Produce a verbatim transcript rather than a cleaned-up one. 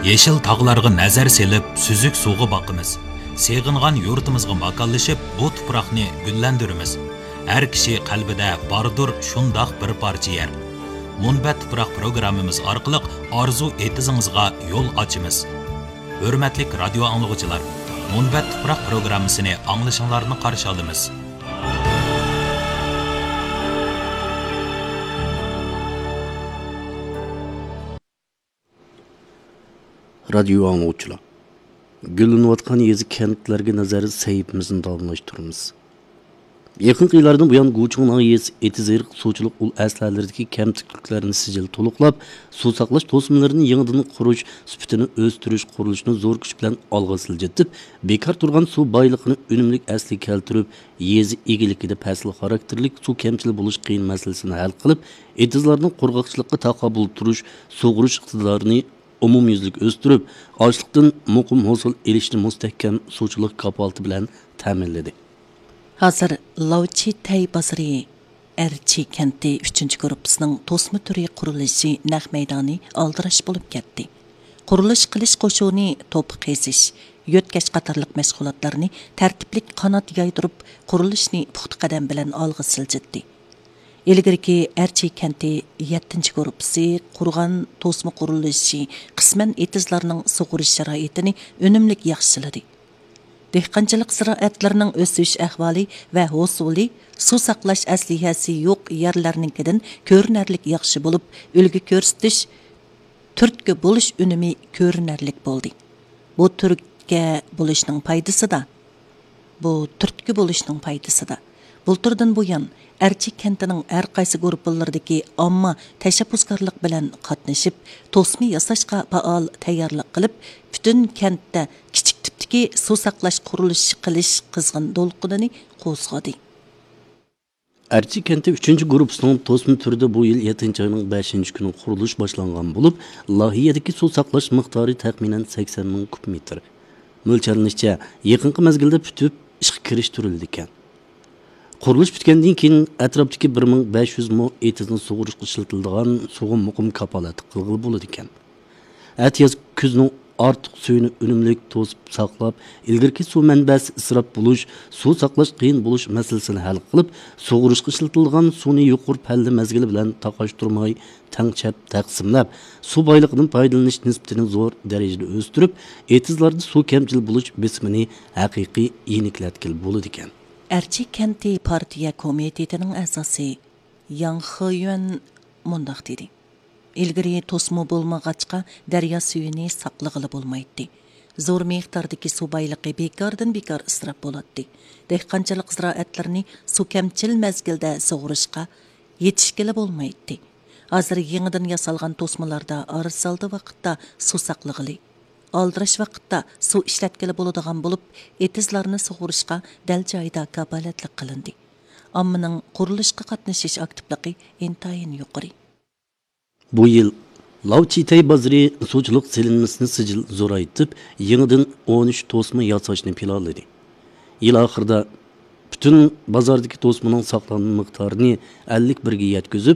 يېشىل تاغلارغا نەزەر سېلىپ، سۈزۈك سۇغا باقىمىز. سېغىنغان يۇرتىمىزغا ماكانلىشىپ، بۇ تۇپراقنى گۈللەندۈرىمىز. ھەر كىشى قەلبىدە باردۇر شۇنداق بىر پارچە يەر. مۇنبەت تۇپراق پروگراممىمىز ئارقىلىق ئارزۇ ئېتىزىڭىزغا يول ئاچىمىز. ھۆرمەتلىك رادىيو ئاڭلىغۇچىلار، مۇنبەت تۇپراق پروگراممىسىنى ئاڭلىشىڭلارنى قارشى ئالىمىز. رادىيو ئاڭلىغۇچىلار، گۈللىنىۋاتقان يېزا، كەنتلەرگە نەزەر سەھىپىمىزنى داۋاملاشتۇرىمىز. يېقىنقى يىللاردىن بۇيان، گۇچۇڭ ناھىيەسى ئېتىز-ئېرىق سۇچىلىق ئۇل ئەسلىھەلىرىدىكى كەمتۈكلۈكلەرنى سىجىل تولۇقلاپ، سۇ ساقلاش توسمىلىرىنى يېڭىدىن قۇرۇش، سۈپىتىنى ئۆستۈرۈش قۇرۇلۇشىنى زور كۈچ بىلەن ئالغا سىلجىتىپ، بىكار تۇرغان سۇ بايلىقىنى ئۈنۈملۈك ئەسلىگە كەلتۈرۈپ، يېزا ئىگىلىكىدە پەسىل خاراكتېرلىك سۇ كەمچىلىك بولۇش قىيىن مەسىلىسىنى ھەل قىلىپ، ئېتىزلارنىڭ قۇرغاقچىلىققا تاقابىل تۇرۇش، سۇغۇرۇش ئىقتىدارىنى ئومۇميۈزلۈك ئۆستۈرۈپ، ئاشلىقتىن مۇقىم ھوسۇل ئېلىشنى مۇستەھكەم سۇچىلىق كاپالىتى بىلەن تەمىنلىدى. ھازىر لاۋچىتەي بازىرى ئەرچى كەنتى ئۈچىنچى گۇرۇپپىسىنىڭ توسما تۈرى قۇرۇلۇشى نەق مەيدانى ئالدىراش بولۇپ كەتتى. قۇرۇلۇش قىلىش قوشۇنى توپا قېزىش، يۆتكەش قاتارلىق مەشغۇلاتلارنى تەرتىپلىك قانات يايدۇرۇپ، قۇرۇلۇشنى پۇختا قەدەم بىلەن ئالغا سىلجىتتى. ئىلگىرىكى ئەرچى كەنتى يەتتىنچى گۇرۇپپىسى قۇرغان توسما قۇرۇلۇشى قىسمەن ئېتىزلارنىڭ سۇغىرىش شارائىتىنى ئۈنۈملۈك ياخشىلىدى. دېھقانچىلىق زىرائەتلىرىنىڭ ئۆسۈش ئەھۋالى ۋە ھوسۇلى سۇ ساقلاش ئەسلىھەسى يوق يەرلەرنىڭكىدىن كۆرۈنەرلىك ياخشى بولۇپ، ئۈلگە كۆرسىتىش، تۈرتكە بولۇش ئۈنۈمى كۆرۈنەرلىك بولدى. بۇ تۈرتكە بولۇشنىڭ پايدىسىدا، بۇ تۈرتكە بولۇشنىڭ پايدىسىدا، بۇلتۇردىن بۇيان، ئەرچى كەنتىنىڭ ھەر قايسى گۇرۇپپىلىرىدىكى ئامما تەشەببۇسكارلىق بىلەن قاتنىشىپ، توسما ياساشقا پائال تەييارلىق قىلىپ، پۈتۈن كەنتتە كىچىك تىپتىكى سۇ ساقلاش قۇرۇلۇشى قىلىش قىزغىن دولقۇنىنى قوزغىدى. ئەرچى كەنتى ئۈچىنچى گۇرۇپپىسىنىڭ توسما تۈرىدە بۇ يىل يەتتىنچى ئاينىڭ بەشىنچى كۈنى قۇرۇلۇش باشلانغان بولۇپ، لايىھەدىكى سۇ ساقلاش مىقدارى تەخمىنەن سەكسەن مىڭ كۇب مېتىر. مۆلچەرلىنىشىچە، يېقىنقى مەزگىلدە پۈتۈپ ئىشقا كىرىشتۈرۈلىدىكەن. قۇرۇلۇش پۈتكەندىن كېيىن، ئەتراپتىكى بىر مىڭ بەش يۈز مو ئېتىزنى سۇغۇرۇشقا ئىشلىتىلىدىغان سۇغا مۇقىم كاپالەتلىك قىلغىلى بولىدىكەن. ئەتىياز كۈزنىڭ ئارتۇق سۈيىنى ئۈنۈملۈك توسۇپ ساقلاپ، ئىلگىرىكى سۇ مەنبەسى ئىسراپ بولۇش، سۇ ساقلاش قىيىن بولۇش مەسىلىسىنى ھەل قىلىپ، سۇغۇرۇشقا ئىشلىتىلىدىغان سۇنى يۇقىرى پەللە مەزگىلى بىلەن تاقاشتۇرماي تەڭشەپ تەقسىملەپ، سۇ بايلىقىدىن پايدىلىنىش نىسبىتىنى زور دەرىجىدە ئۆستۈرۈپ، ئېتىزلاردا سۇ كەمچىل بولۇش بېسىمىنى ھەقىقىي يېنىكلەتكىلى بولىدىكەن. ئەرچى كەنتى پارتىيە كومىتېتىنىڭ ئەزاسى ياڭ خېيۈەن مۇنداق دېدى. ئىلگىرى توسما بولمىغاچقا، دەريا سۈيىنى ساقلىغىلى بولمايتتى. زور مىقداردىكى سۇ بايلىقى بىكاردىن بىكار ئىسراپ بولاتتى. دېھقانچىلىق زىرائەتلىرىنى سۇ كەمچىل مەزگىلدە سۇغۇرۇشقا يېتىشكىلى بولمايتتى. ھازىر يېڭىدىن ياسالغان توسمىلاردا ئارىسالدى ۋاقىتتا سۇ ساقلىغىلى، ئالدىراش ۋاقىتتا سۇ ئىشلەتكىلى بولىدىغان بولۇپ، ئېتىزلارنى سۇغۇرۇشقا دەل جايىدا كاپالەتلىك قىلىندى. ئاممىنىڭ قۇرۇلۇشقا قاتنىشىش ئاكتىپلىقى ئىنتايىن يۇقىرى. بۇ يىل لاۋچىتەي بازىرى سۇچىلىق سېلىنمىسىنى سىجىل زورايتىپ، يېڭىدىن ئون ئۈچ توسما ياساشنى پىلانلىدى. يىل ئاخىرىدا پۈتۈن بازاردىكى توسمىنىڭ ساقلانما مىقدارىنى ئەللىك بىرگە يەتكۈزۈپ،